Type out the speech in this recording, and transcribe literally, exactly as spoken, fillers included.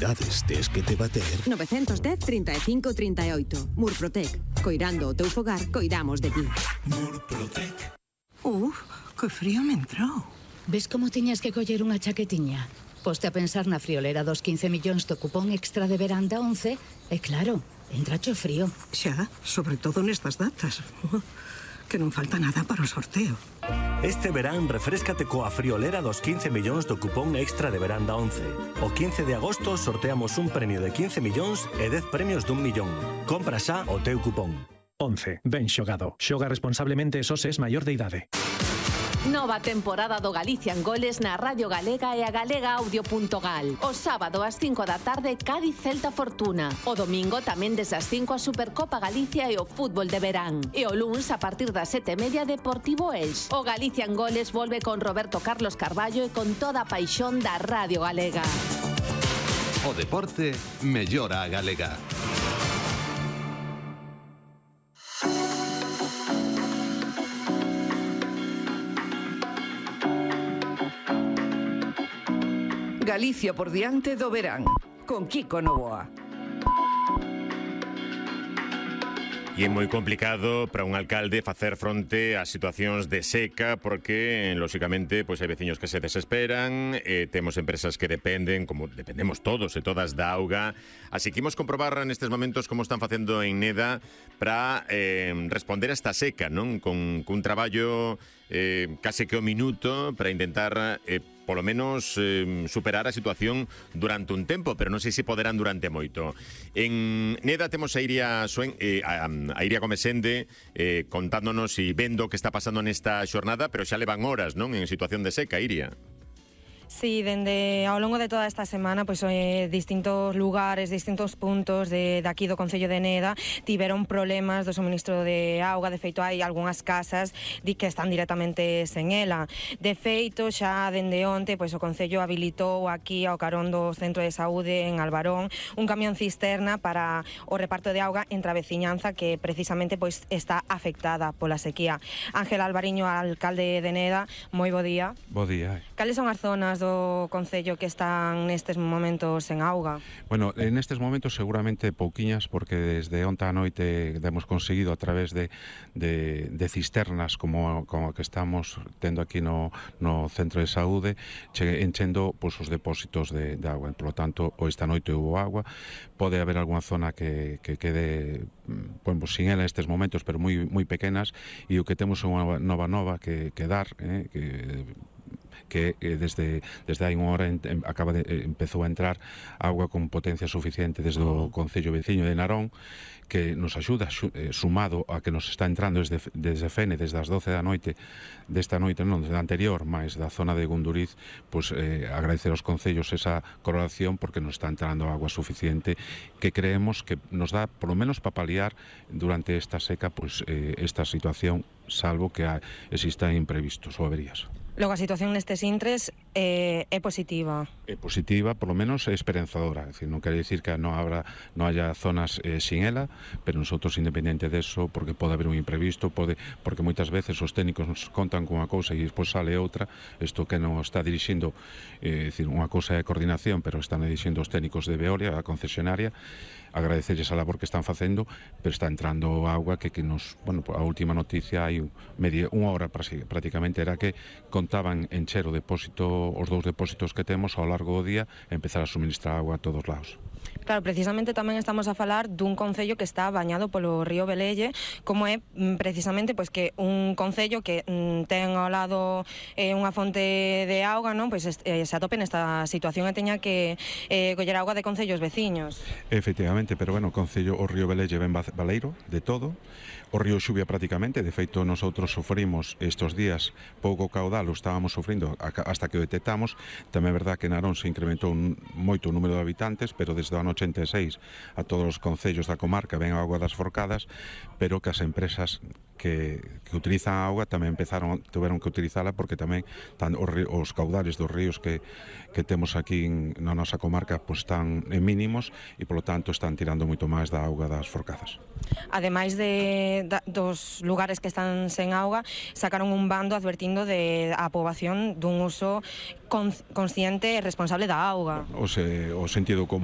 necesidades tes que te bater... nove un cero, trinta e cinco, trinta e oito. Murprotec. Coirando o teu fogar, coidamos de ti. Murprotec. Uf, que frío me entrou. Ves como tiñas que coller unha chaquetiña? Poste a pensar na friolera dos quince millóns do cupón extra de verán da once e claro, entracho frío. Xa, sobre todo nestas datas. Que non falta nada para o sorteo. Este verán refréscate coa friolera dos quince millóns do cupón extra de verán da once. O quince de agosto sorteamos un premio de quince millóns e dez premios dun millón. Compra xa o teu cupón. once. Ben xogado. Xoga responsablemente e só se es maior de idade. Nova temporada do Galician Goles na Radio Galega e a galega audio punto gal. O sábado ás cinco da tarde Cádiz Celta Fortuna. O domingo tamén desde as cinco a Supercopa Galicia e o fútbol de verán. E o luns a partir das sete e media Deportivo Elx. O Galician Goles volve con Roberto Carlos Carballo e con toda a paixón da Radio Galega. O deporte mellora a galega. Galicia por diante do verán, con Kiko Novoa. E é moi complicado para un alcalde facer fronte ás situacións de seca porque, lóxicamente, pois hai veciños que se desesperan, e temos empresas que dependen, como dependemos todos e todas, da auga. Así que imos comprobar nestes momentos como están facendo en Neda para eh, responder a esta seca, non? Con, con un traballo eh, case que o minuto para intentar... Eh, polo menos eh, superar a situación durante un tempo, pero non sei se poderán durante moito. En Neda temos a Iria Suen, eh, a, a Iria Comesende eh, contándonos e vendo o que está pasando nesta xornada, pero xa levan horas, non, en situación de seca, Iria. Sí, dende ao longo de toda esta semana, pois eh, distintos lugares, distintos puntos de, de aquí do Concello de Neda tiveron problemas do suministro de auga. De feito, hai algunhas casas di que están directamente sen ela. De feito, xa dende onte, pois o Concello habilitou aquí ao carón do Centro de Saúde en Albarón un camión cisterna para o reparto de auga entre a veciñanza que precisamente pois está afectada pola sequía. Ángel Alvariño, alcalde de Neda, moi bo día. Bo día. Cales son as zonas do Concello que están nestes momentos sen auga? Bueno, en estes momentos seguramente pouquiñas, porque desde onta a noite hemos conseguido a través de, de, de cisternas como, como que estamos tendo aquí no, no Centro de Saúde, che, enchendo pois, os depósitos de, de agua. Por lo tanto, o esta noite hubo agua. Pode haber alguna zona que, que quede bueno, sin ela estes momentos, pero moi, moi pequenas, e o que temos é unha nova nova que, que dar, eh, que que eh, desde desde hai unha hora en, en, acaba de, eh, empezou a entrar agua con potencia suficiente desde o Concello veciño de Narón, que nos axuda, eh, sumado a que nos está entrando desde, desde Fene, desde as doce da noite desta noite, non, desde a anterior, máis da zona de Gunduriz, pois eh, agradecer aos concellos esa colaboración, porque nos está entrando agua suficiente que creemos que nos dá, polo menos para paliar durante esta seca, pois eh, esta situación, salvo que ha, existan imprevistos ou averías. Logo, a situación nestes intres eh, é positiva. É positiva, por lo menos é esperanzadora. É dicir, non quere dicir que non habrá, non haya zonas eh, sin ela, pero nosotros, independente deso, porque pode haber un imprevisto, pode, porque moitas veces os técnicos nos contan con unha cousa e despois sale outra. Isto que non está dirixindo, eh, dicir, unha cousa é coordinación, pero están dirixindo os técnicos de Veolia, a concesionaria. Agradecerles a labor que están facendo, pero está entrando agua que, que nos, bueno, a última noticia hai media, unha hora prácticamente era que contaban encher o depósito, os dous depósitos que temos ao largo do día e empezar a suministrar agua a todos lados. Claro, precisamente tamén estamos a falar dun concello que está bañado polo río Velelle, como é precisamente pois que un concello que mm, ten ao lado eh, unha fonte de auga, non? Pois eh, se atope nesta situación e teña que eh, coller auga de concellos veciños. Efectivamente, pero bueno, o concello, o río Velelle ven baleiro de todo, o río Xuvia prácticamente, de feito nosotros sufrimos estos días pouco caudal, o estábamos sufrindo hasta que o detectamos. Tamén é verdad que Narón se incrementou un, moito o número de habitantes, pero desde o ano ochenta e seis a todos os concellos da comarca ven a auga das Forcadas, pero que as empresas que, que utilizan a auga tamén empezaron, tiveron que utilizala, porque tamén tan, os, os caudales dos ríos que, que temos aquí en, na nosa comarca pues, están en mínimos e polo tanto están tirando moito máis da auga das Forcadas. Ademais de, da, dos lugares que están sen auga, sacaron un bando advertindo de a poboación dun uso con, consciente e responsable da auga. O, se, o sentido común